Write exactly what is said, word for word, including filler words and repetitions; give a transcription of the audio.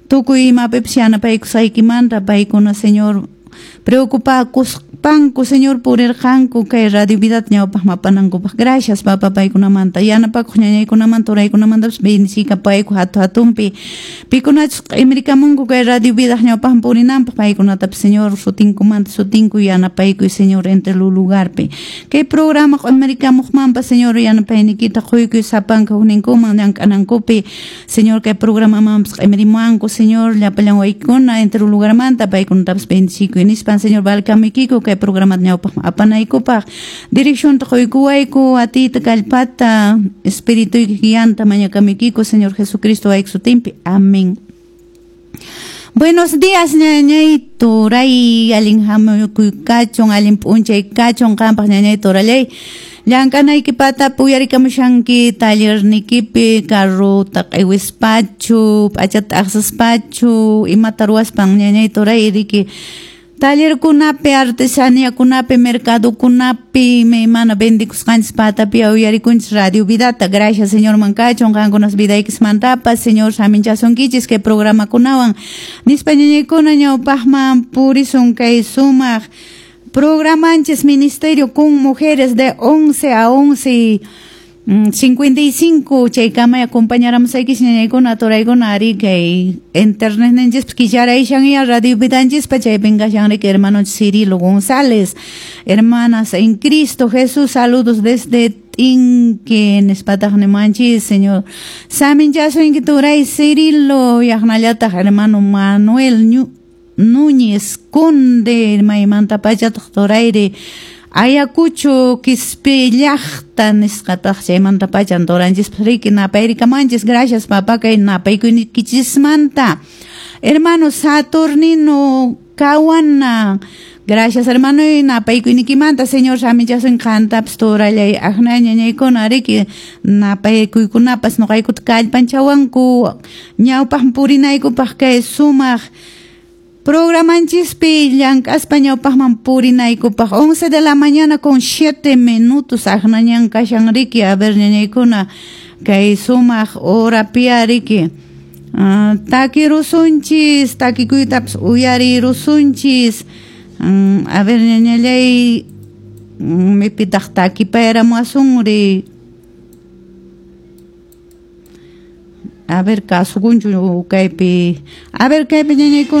Tukuy imapipas yanapaykusaykimanta paykuna, Señor, preocupakuspanku, Señor, purirqanku kay Radio Vidata ñawpaqman apanankupaq. Gracias, papá, paykunamanta, yanapakuq ñañaykunamanta, turaykunamantapas bendicikapayku hatu hatunpi. Pikunachus q'imirikamunku kay Radio Vidaq ñawpaqman purinanpaq, paykunatapas, Señor, sutinkumanta sutinku yanapaykuy, Señor, entre lugarpi. Kay programa q'imirikamuqmanpas, Señor, yanapayniykita quykuy sapanka hukninkuman llank'anankupi, Señor, kay programamanpas q'imirimuwanku, Señor, llapallan waykuna entre lugarmanta, paykunatapas bendicikuy nispan, Señor, valkamuykiku kay programata ñawpaqman apanaykupaq. Direccionta quykuwayku, atiyta, kallpata, espirituyki guianta mañakamuykiku, Señor Jesucristo wayki sutinpi. Amén. Buenos días, ñañay turay, allin hamukuy kachun, allin p'unchay kachun qampaq, ñañay turallay. Llank'anayki patapi uyarikamushanki tallernikipi, carrota q'iwispachu, p'achata t'aqsaspachu, imata ruwaspan, ñañay turay, riki tallerkunapi, artesaniakunapi, mercadokunapi, imaymana vendikusqanchis patapi uyarikunchis Radio Vidata. Gracias, Señor, kachun qankunas vidaykismantapas, Señor, saminchasunkichis kay programakunawan. Nispa, ñañaykuna, ñawpaqman purisun kay sumaq programanchis Ministerio con Mujeres de once a once cincuenta y cinco chaykama acompañaramusaykichis, ñañaykuna, turaykuna, ari kay internet ninchispas kicharaysan ya Radio Vidanchispa, chaypin kashan riki hermano Cirilo González. Hermanas en Cristo Jesús, saludos desde Tinque nispataq nimanchis. Señor saminchasunki, turay Cirilo, yaqnallataq hermano Manuel Núñez Conde. Maymanta pachataq, turayri? Ayacucho Quispe llaqta nisqataq, chaymanta pachan turanchispas riki napayrikamanchis. Gracias, papá, kay napaykuykichismanta. Hermano Saturnino Kawana, gracias, hermano, y napaykuynikimanta. Señor samichasun qantapas, turallay. Akna ñañaykuna riki napaykuykunapas nuqaykuta kallpanchawanku ñawpaq purinaykupaq kay sumaq programanchispi llank'aspa ñawpaqman purinaykupaq. once de la mañana con siete minutos aqnañan kashan riki. A ver, ñañaykuna, kay sumaq horapia riki uh, takirusunchis, takikuytapas uyarirusunchis. um, a ver, ñañallay, mipitaq takipayaramuwasunri? A ver, kasukunchu kaypi? A ver, kaypi, ñañaykuna.